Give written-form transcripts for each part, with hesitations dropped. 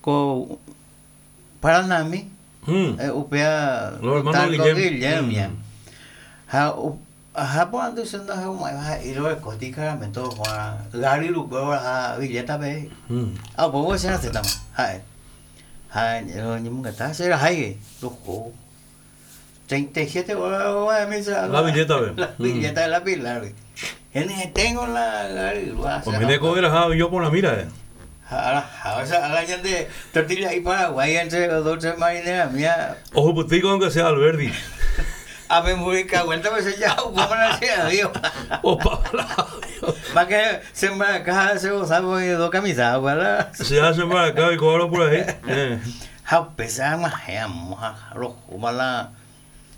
Ko Paranami, upéva Talco Guillem Ha aha porandu che ndahe'umo'ãiva he'i rorekóti ikaramento oho'arã Gary rukue oraha billeta-pe. Ha upévo che rasẽtama ha'e. Ha roñemongeta che rahái roho 37 horas roguahẽmi che La billeta-pe. La billeta de la Pilar-gui. Henyhẽténgo la Gary rua. Oiméne ko oraha ojo porãmi ra'e. Ha araha, o sea, ala ñande tortilla'i paraguái entre dos tres marinera mía. Ohupytýiko aunque sea Alberdi. A me murica vuelta me se ya opa la che avío. Opa la avío. Ma que se embaracá se gozaba de dos camisas, ¿verdad? Se hace embaracá y cobro por ahí. Ha upéicha ag̃uahẽ amo ha rohóma la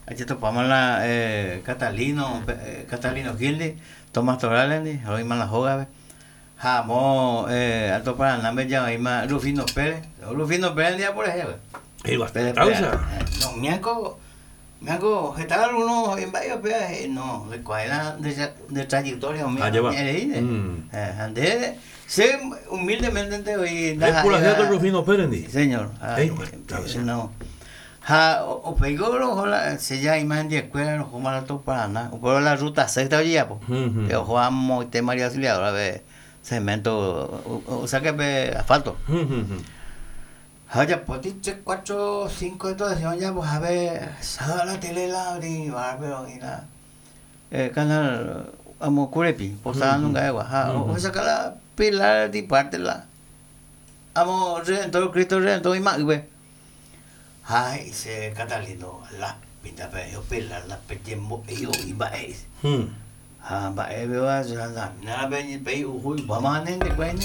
ajetopáma la Catalino, Catalino Gil-ndi, Tomás Torales-ndi, roĩma la hógape. Ha amo Alto Paranáme ja oĩma Rufino Pérez. Rufino Pérez ndive por ejemplo. Causa. No, mianco, mianco heta alguno mba'e upéva he'i no, ndoikuaáirã nde trayectoria umi ñe'ẽreíre. Ha nde che humildemente oĩ ndaha'éiva. Rufino Pérez ndi. Señor. No. Ha upéiko roho la che ja oĩma hendiekuéra rohóma Alto Paraná, upéva la ruta sexta ojejapo, pe oho amoite María Auxiliadora-pe cemento, o sea que pe asfalto. Ha ojapo tres, cuatro, cinco estación ojapohápe sábado la tele la oĩ barpe oĩ la canal amo Kurepi, Posada nunga-egua, ha ohechauka la Pilar Diparte la amo Redentor, Cristo Redentor oĩma'ỹpe. Ha he'i che Catalino, la pinta pe opela la pejembo'e oĩ mba'e he'i. Ha mba'e péva che andamína pe pe uhu ipáma ne ndekuéine.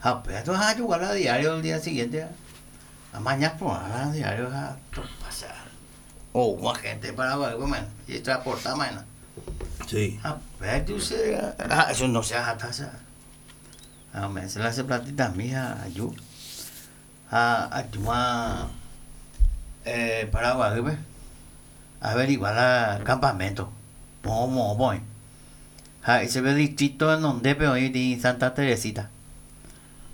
Ha upéva tu ha ajogua la diario el día siguiente. Amaña porã la diario ha topa che oúma gente Paraguaýpe maína, ojetransporta maína. Sí. Ha upéva tu che ha eso no che ahata che. Ha ome'ẽ che la che platitami ha aju. Ha ajúma Paraguaýpe averigua la campamento moõ moõpa oĩ. Ha chéve distrito renondépe oĩ peteĩ Santa Teresita.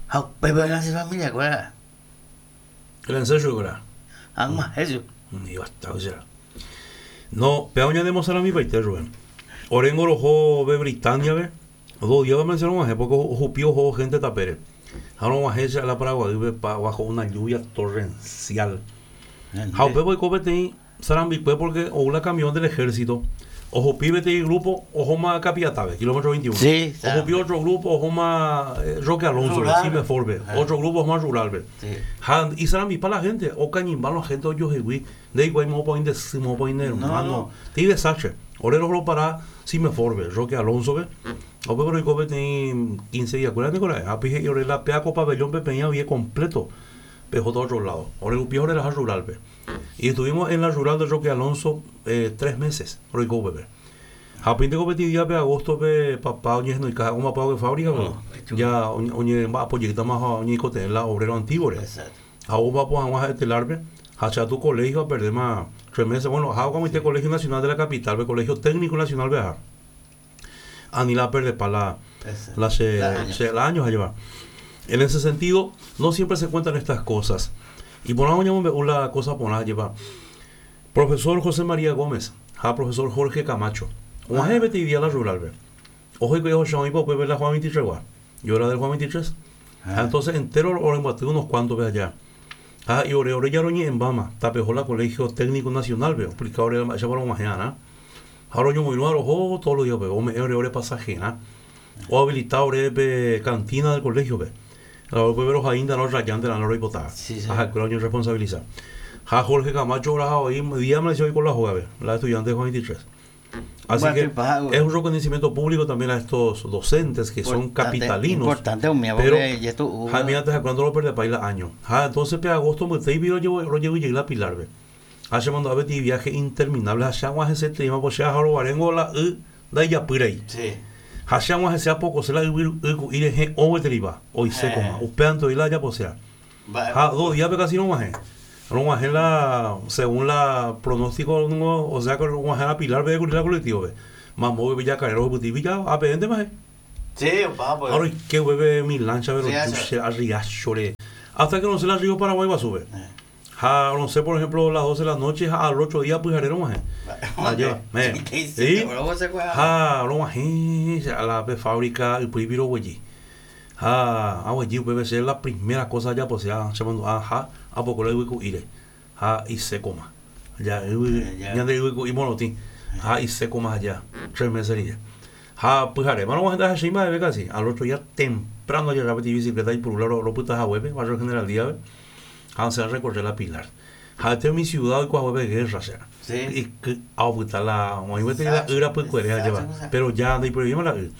Ha upépe oĩ la che familia kuéra. El ancestro kuéra. Ag̃uahẽ chupe. Ivatáicha. No, péva oñanemosaramipaite Rubén. Oréngo roho Britania-pe. Dos días pe rog̃uahẽ porque ohupi oho gente tapére. Ha rog̃uahẽ che la Paraguaýpe pa bajo una lluvia torrencial. Ha upépe oiko peteĩ sarambikue porque ou la camión del ejército, ohupi peteĩ grupo ohóma Capiatápe, kilómetro 21. Sí, Ohupi otro grupo ohóma Roque Alonso-pe, Rural. Simefor-pe. Otro grupo ohóma Rural-pe. Sí. Ha isarambipa la gente, okañymba la gente ojohegui, Ndeikuaái moõpa oĩ nde sy, moõpa oĩ ne hermano. Teĩ desastre. Ore rohoropara Simefor-pe, Roque Alonso-pe. Ha upépe roiko peteĩ quince día-kuéra niko ra'e. Ha upéi he'i ore la péa ko pabellón-pe peĩ avie completo pehóta otro lado. Ore rupi oreraha rural-pe. Y estuvimos en la rural de Roque Alonso tres meses roiko upépe. Ha upéinte ko peteĩ día-pe agosto-pe papa oñehenoika ha'e omba'apo hague fábrica-pe. Ja oñemba'apo jeýtama ha oñeikotevẽ la obrero antiguo-re. Ha omba'apo hag̃ua ha'e telar-pe, ha che atu colegio aperdéma tres meses. Bueno, aha okamoite Colegio Nacional de la Capital-pe, Colegio Técnico Nacional-pe aha. Ani la aperdepa la, la che, che la años ajéva. En ese sentido, no siempre se cuentan estas cosas. Iporã oñemombe'u la cosa porã ajépa. Profesor José María Gómez ha profesor Jorge Camacho og̃uahẽ peteĩ día la rural-pe. Oho hikuái ohecha oĩpa upépe la Juan 23 gua. Yo era del Juan 23. Ha entonces entero orembyaty unos cuantos pe aja. Ha he'i ore, ore ja roñe'ẽmbáma, tapeho la Colegio Técnico Nacional-pe, oexplica ore mba'éichapa rog̃uahẽ arã. Ha roñomoirũva roho todos los días upépe, ome'ẽ ore ore pasajerã, oabilita ore pe cantina del colegio-pe. Ha upépe rohaínte rorrayánte la roipota. Ha ha'ekuéra oñorresponsabiliza. Ha Jorge Camacho oraha voi día amaneció oiko la hógape, la estudiante de Juan 23. Así que es un reconocimiento público también a estos docentes que son capitalinos. Importante umíva Pero porque jetu'u. ha mira hasta cuándo lo perdepáis la año. Ha entonces pe agosto mbytéipi rojevy la Pilar-pe. Ha che mandu'a peteĩ viaje interminable ha che ag̃uahẽsetereíma po che aha rovaréngo la y ndaijapýrai. Sí. Ha che ag̃uahẽse apokose la yvy y ku'i rehe ogueteripa, oisékoma. Upévante oĩ la ajaposéva. Ha dos días-pe casi rog̃uahẽ. Rog̃uahẽ la, según la pronóstico ningo, o sea que rog̃uahẽ la Pilar-pe kuri la colectivo-pe. Mamo upépe jakare rohupyty ja apéntema he. Sí, opa pues. Ha roike upépe mi lancha-pe Riacho. roju che a Riacho-re. Hasta que rosẽ la Río Paraguay guasúpe. Ha rosẽ, por ejemplo, las 12 de la noche ha al otro día pyhare rog̃uahẽ. Ajépa. Sí. Ha rog̃uahẽ a la pe fábrica ypýipi roguejy. Ha aguejy upépe che la primera cosa ajaposéva chemandu'a ha apoko la yvyku'íre ha isékoma. Ja yvy, ñande yvyku'i morotĩ ha isékoma aja tres meses rire. Ha pyharéma rog̃uahẽ ndahechéi mba'eve casi. Al otro día temprano ajerra peteĩ bicicleta aipuru la ropyta haguépe, barrio General Díaz-pe. Ha osẽ a recorrer la Pilar. Ha'ete umi ciudad oiko haguépe guerra che. Sí. Iky'a opyta la oĩ gueteri la y rapykuere ajépa. Pero ya ndaiporevéima la y.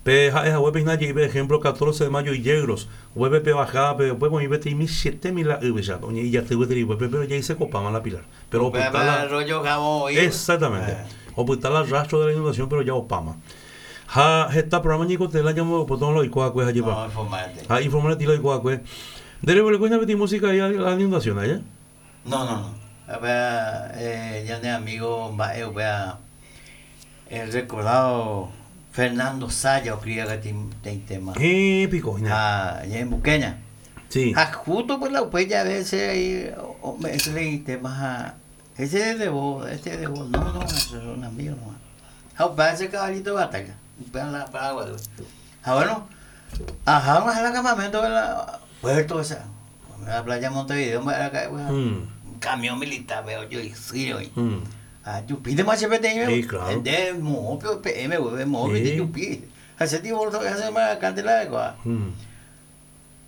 Pe ha'e haguépe hína je'i pe ejemplo 14 de mayo Yegros, upépe pe bajada-pe upépe oĩ peteĩ michĩetemi la y péicha oñe'ijaty gueteri upépe pero ya isekopáma la Pilar. Pero opyta la Arroyo Jabón oĩ. Exactamente. Opyta la rastro de la inundación pero ya opáma. Ha heta programa ñeikotevẽ la ñambo'epótõ la oiko va'ekue hajépa. No, informante. Ha informante la oiko va'ekue. Nde reguereko hína peteĩ música ahí la inundación aje? No, no, no. Upéva ñane amigo mba'e upéva el recordado Fernando Zaya oscribía peteĩ tema. Héẽ piko hína. Ha ñe'ẽmbukéña. Sí. Ha justo pues la upe jave che ahí ome'ẽ che tema ha ese es de vos, este es de vos. No, no, eso es un amigo nomás. Ha upéva che caballito de batalla, upéva la Paraguay. Ha bueno, aha og̃uahẽ la campamento de la puerto esa, la playa Montevideo mba'e raka'e pues, camión militar pe ojoysýi oĩ. Ha jupíntema che peteĩme, Sí, claro. nde moõpe peẽme guive, moõpe Sí. jupi. Ha che tipo ha che la aikuaa.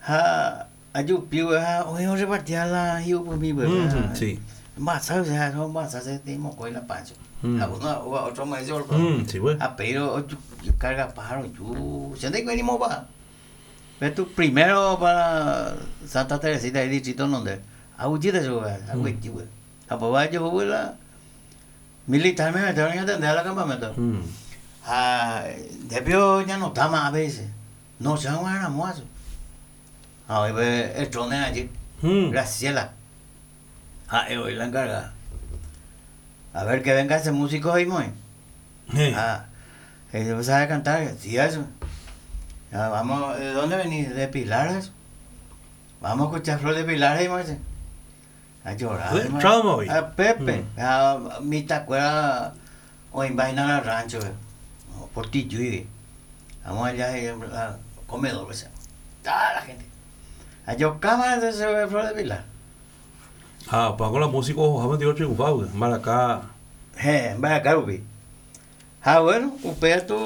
Ha ajupi guive ha oĩ orrepartia la hi'upymi guive. Sí. Masa, o sea, masa se te mokõi la pancho. Ha uno otro me dice, Sí, pues. Ha pero oju carga pájaro ju, che ndaikuaái ni moõpa. Ve tu primero para Santa Teresita el distrito donde aguyjýta chupe, aguyjy guive. Ha upéva ajohu la militar me metieron ñatende al campamento. Ha ndépio ñanotáma a veces. No che ag̃uahẽ ramo asu. Ha oĩ pe Etrone rajy, Graciela. Ha'e oĩ la encargada. A ver que venga ese músico he'i moĩ. Ha he'i ¿vos sabés cantar? Sí, eso. Ya, vamos, ¿de dónde venís? De Pilar, eso. Vamos a escuchar Flor de Pilar, he'i moĩ. A llorar. De entrada oĩ. A Pepe. Ha mitãkuéra oĩmba hína la rancho-pe. Portillúigui. Vamos allá he'i la comedor-pe. Toda la gente. Ajokáma che Flor de Pilar. Ha opa ko la músico ohohápe nde otriunfágui, mbaraka. Héẽ, mbaraka rupi. Ha bueno, upéva tu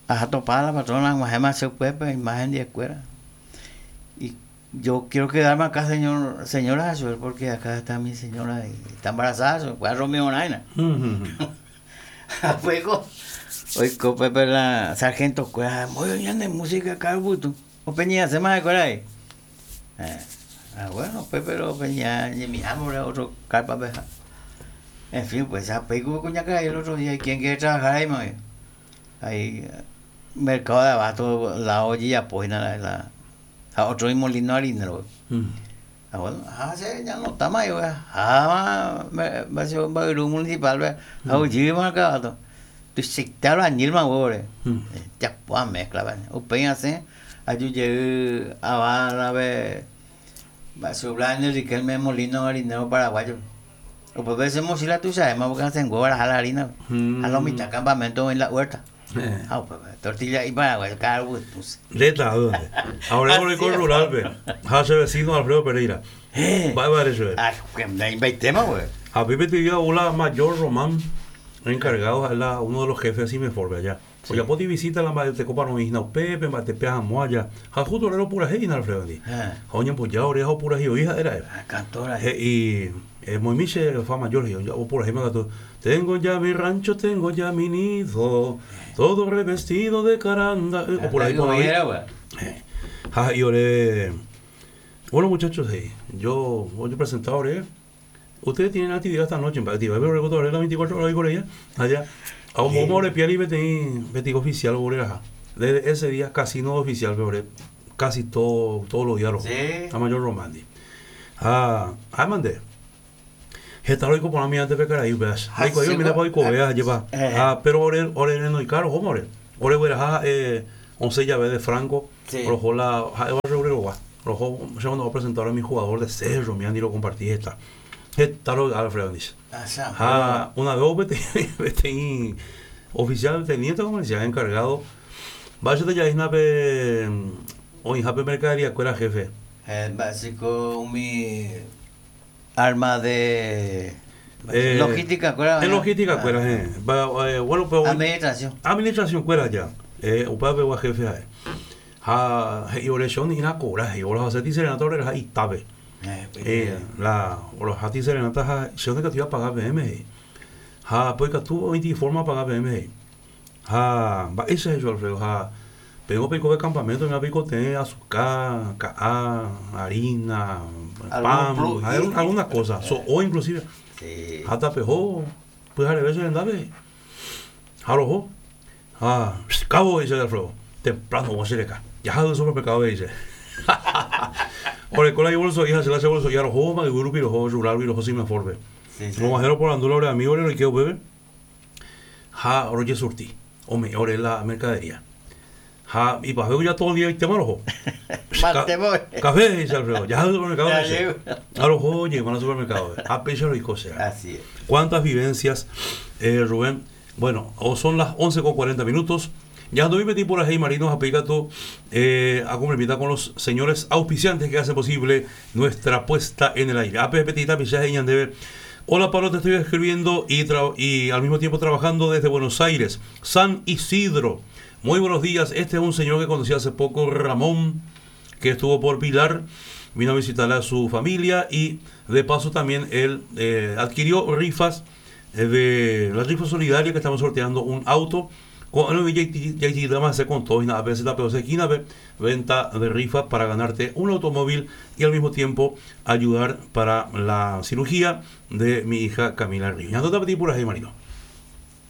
aha topa la patrona ag̃uahẽma che upépe imágen ndiekuéra. Y yo quiero quedarme acá señor, señora chupe porque acá está mi señora y está embarazada chupe, upéva romeorã hína. Ha upéiko oiko upépe la sargento kuéra, oĩ ñande música ka'arupytũ, opeñe'ẽséma ha'ekuéra he'i. Ah, bueno, pues, pero pues ya ñemihámo otro carpa-pe ha. En fin, pues, ha péiko kuñakarai el otro día, ¿quién quiere trabajar ahí, mami? Ahí, mercado de abasto lado ojejapo hína la, la, ha otro imolino harinero. Ah, bueno, ha che ñanotama ahí, ha ma che mba'yru municipal-pe, ha ojýma mercado. Tuichaite albañil-ma huevo-re. Japo amezcla-pe. Upéi asẽ Aju jey ava la-pe Blas Riquelme Molino harinero paraguayo. Upépe che mochila tuichavéma porque asẽnguévo araha la harina. Ha lo mitad campamento oĩ la huerta. Ha upépe tortilla'i paraguayo ka'arupytũse. Ndéta dónde. Ahora oiko rural-pe. Ha che vecino Alfredo Pereira. Mba'épa ere chupe? Ah, ndaimbaitéma pues. Ha pépe te digo la mayor Román encargado ha'e la uno de los jefes Simefor-pe allá. Ojapóti visita la mba'etekópa roĩ hína upépe, mba'etepe ahamóa aja. Ha justo ore ropurahéi hína Alfredo-ndi. Ha oñemboja ore ha opurahéi oĩ ha'e ra'e. He'i, Emoĩmi che fa mayor, he'i, opurahéima katu, Tengo ya mi rancho, tengo ya mi nido, todo revestido de caranda. Opurahéi porã oĩ. Ha he'i ore, Bueno muchachos, he'i, yo ojepresenta ore. Ustedes tienen actividad esta noche, mba'e actividad, pero oreko todavía las 24 horas oiko reía allá. Ha ombóma ore piári peteĩ peteĩ oficial oreraha. Desde ese día casino oficial pe ore casi todo, todos los días roho. Sí. A mayor Romandi. Ha ha'éma nde. Heta roiko porã mi antes pe karai upéva. Ha Ndaikuaái che oiménepa oikove ajépa. Eh. Ha pero ore ore renoika rohóma ore. Ore gueraha ha'e osẽ jave de Franco Sí. roho la ha'éva ore roho. Roho che cuando presentaron a mi jugador de Cerro, mi lo compartí esta. Heta rovy'a Alfredo ndive. Ha una vez peteĩ peteĩ oficial teniente como decía encargado mba'éicha jaína pe oĩhápe mercadería kuéra jefe. Mba'éiko umi arma de logística kuéra. En logística kuéra, bueno, pero administración. Administración kuéra ya. Upéva pegua jefe ha'e. Ha he'i ore che oñe'ẽna kora, he'i orohaseti serenata oreraha itápe. La orohati serenata ha che ndaikatúi apaga peẽme he'i. Ha pe oikatu oĩti forma apaga peẽme he'i. Ha mba'éicha he'i Alfredo ha peẽngo peikove campamento oĩva peikotevẽ asuka, ka'a, harina, pan, alguna cosa, so'o inclusive. Ha tapeho pyhareve che rendápe he'i. Ha roho. Ha cabo he'i chéve Alfredo, temprano oguã che reka. Jaha yvy supermercado he'i chéve. Oreko la ibolso'i ha che la che bolso'i ha rohóma yvy rupi roho, rural rupi roho Simefor-pe. Roguahẽ roporandu la ore amigo-re roike upépe ha rojesurti, ome'ẽ ore la mercadería. Ha ipahápe ya todo el día oitéma roho. Café he'i che Alfredo, jaha yvy supermercado he'i chéve. Ha roho ojeýma la supermercado-pe. Ha péicha roiko che. Cuántas vivencias, Rubén. Bueno, o son las 11 con 40 minutos. Ya doy metí por ahí, Marino Apicato, a cumplir con los señores auspiciantes que hacen posible nuestra puesta en el aire. APP Petita Pichaje y Ñandeve. Hola Pablo, te estoy escribiendo y, y al mismo tiempo trabajando desde Buenos Aires, San Isidro. Muy buenos días. Este es un señor que conocí hace poco, Ramón, que estuvo por Pilar, vino a visitar a su familia y de paso también él adquirió rifas de la rifa solidaria que estamos sorteando un auto. Con todo y a veces la peor esquina venta de rifas para ganarte un automóvil y al mismo tiempo ayudar para la cirugía de mi hija Camila Ríos. Ya no te por ahí, Marino.